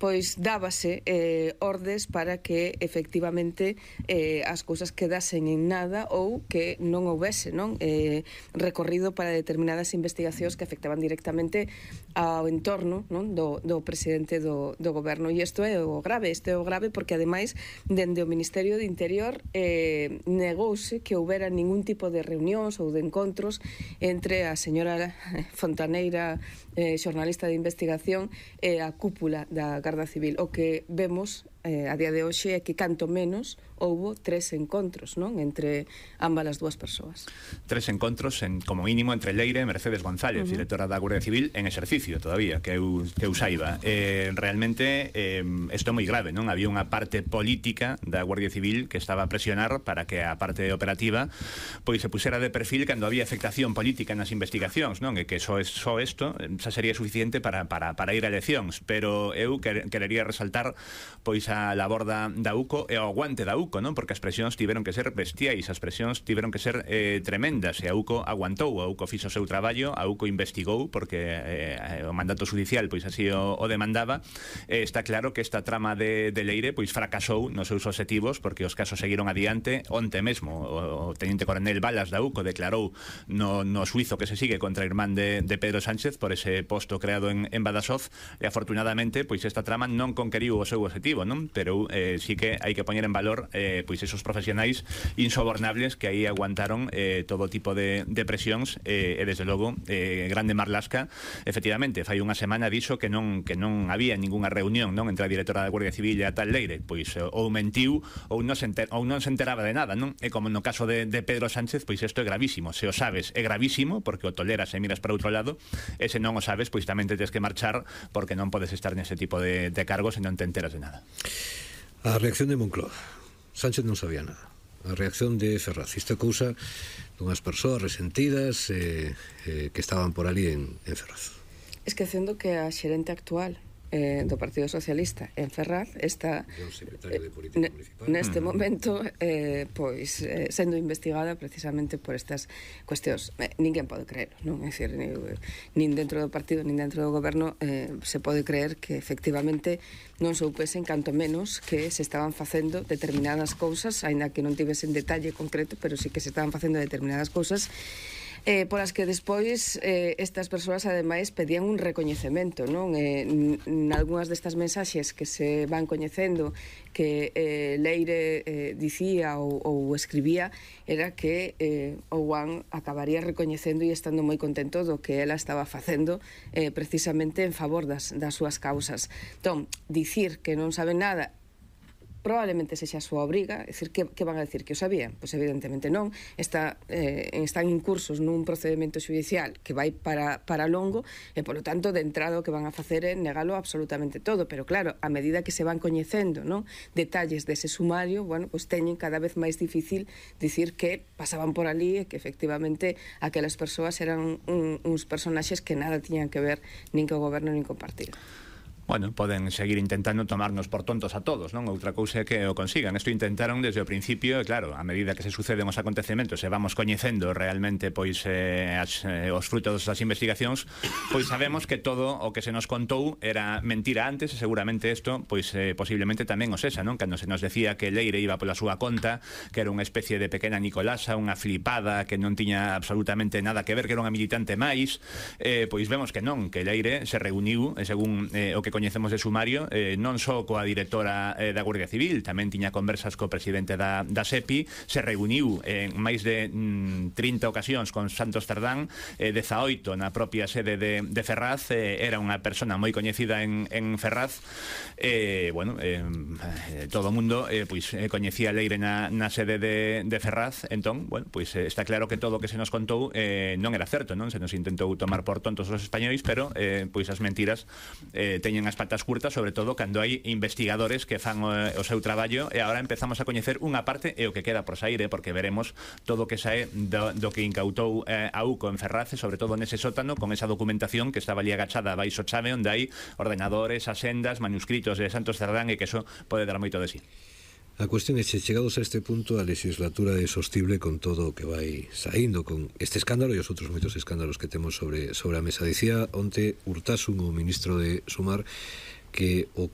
pois dábase ordes para que efectivamente as cousas quedasen en nada ou que non houbese recorrido para determinadas investigacións que afectaban directamente ao entorno do presidente do goberno. E isto é o grave, porque ademais dende o Ministerio de Interior negouse que houbera ningún tipo de reunións ou de encontros entre a señora Fontaneira, xornalista de investigación, e a cúpula da Garda Civil. O que vemos a día de hoxe é que canto menos houbo 3 encontros entre ambas as dúas persoas. 3 encontros, como mínimo, entre Leire e Mercedes González, directora da Guardia Civil, en exercicio todavía, que eu saiba. Realmente, isto é moi grave, non? Había unha parte política da Guardia Civil que estaba a presionar para que a parte operativa pois se pusera de perfil cando había afectación política nas investigacións, non? E que só isto xa sería suficiente para ir a eleccións. Pero eu querería resaltar pois a labor da UCO e o aguante da UCO, non? Porque as presións tiveron que ser bestiais, as presións tiveron que ser tremendas, e a UCO aguantou, a UCO fixo o seu traballo, a UCO investigou, porque o mandato judicial pois así o demandaba. Está claro que esta trama de Leire pois fracasou nos seus obxectivos, porque os casos seguiron adiante. Onte mesmo o teniente coronel Balas da UCO declarou no xuizo que se sigue contra o irmán de Pedro Sánchez por ese posto creado en Badaxoz, e afortunadamente pois esta trama non conqueriu o seu obxectivo, non? Pero sí que hai que poñer en valor pois esos profesionais insobornables que aí aguantaron todo tipo de presións, e desde logo grande Marlaska efectivamente fai unha semana dixo que non había ningunha reunión entre a directora da Guardia Civil e a tal Leire. Pois ou mentiu ou non se enteraba de nada, non? E como no caso de Pedro Sánchez, pois isto é gravísimo. Se o sabes é gravísimo porque o toleras e miras para outro lado, e se non o sabes pois tamén te tens que marchar, porque non podes estar nese tipo de cargos e non te enteras de nada. A reacción de Moncloa. Sánchez non sabía nada. A reacción de Ferraz. Isto é cousa dunhas persoas resentidas que estaban por ali en Ferraz. Esquecendo que a xerente actual do Partido Socialista en Ferraz está neste momento pois sendo investigada precisamente por estas cuestións. Ninguén pode creer, non? É dicir, nin dentro do partido nin dentro do goberno se pode creer que efectivamente non soupesen canto menos que se estaban facendo determinadas cousas, aínda que non tivesen detalle concreto, pero sí que se estaban facendo determinadas cousas polas que despois estas persoas ademais pedían un recoñecemento, non? Nalgúnas destas mensaxes que se van coñecendo que Leire dicía ou escribía era que o Juan acabaría recoñecendo e estando moi contento do que ela estaba facendo precisamente en favor das súas causas. Entón, dicir que non saben nada probablemente sexa a súa obriga, é dicir, que van a dicir que o sabían? Pois evidentemente non. Están incursos nun procedimento judicial que vai para longo, e polo tanto de entrada o que van a facer é negalo absolutamente todo, pero claro, a medida que se van coñecendo detalles dese sumario, pois teñen cada vez máis difícil dicir que pasaban por ali e que efectivamente aquelas persoas eran uns personaxes que nada tiñan que ver nin co goberno nin co partido. Bueno, poden seguir intentando tomarnos por tontos a todos, non? Outra cousa é que o consigan. Isto intentaron desde o principio, e claro, a medida que se suceden os acontecementos e vamos coñecendo realmente pois os frutos das investigacións, pois sabemos que todo o que se nos contou era mentira antes, e seguramente isto pois posiblemente tamén o sexa, non? Cando se nos decía que Leire iba pola súa conta, que era unha especie de pequena Nicolasa, unha flipada que non tiña absolutamente nada que ver, que era unha militante máis, pois vemos que non, que Leire se reuniu, según o que coñecemos de sumario, non só coa directora da Guardia Civil, tamén tiña conversas co presidente da SEPI, se reuniu en máis de 30 ocasións con Santos Cerdán, 18 na propia sede de Ferraz, era unha persona moi coñecida en Ferraz, todo o mundo coñecía a Leire na sede de Ferraz. Entón, pois está claro que todo o que se nos contou non era certo, non? Se nos intentou tomar por tontos os españois, pero pois as mentiras teñen as patas curtas, sobre todo cando hai investigadores que fan o seu traballo, e agora empezamos a coñecer unha parte e o que queda por sair, porque veremos todo o que sae do que incautou a UCO en Ferraz, e sobre todo nese sótano con esa documentación que estaba ali agachada baixo chave, onde hai ordenadores, asendas, manuscritos de Santos Cerdán, e que eso pode dar moito de sí. A cuestión é se chegados a este punto a legislatura é sostible con todo o que vai saindo, con este escándalo e os outros moitos escándalos que temos sobre a mesa. Dicía onte Urtasun, o ministro de Sumar, que o que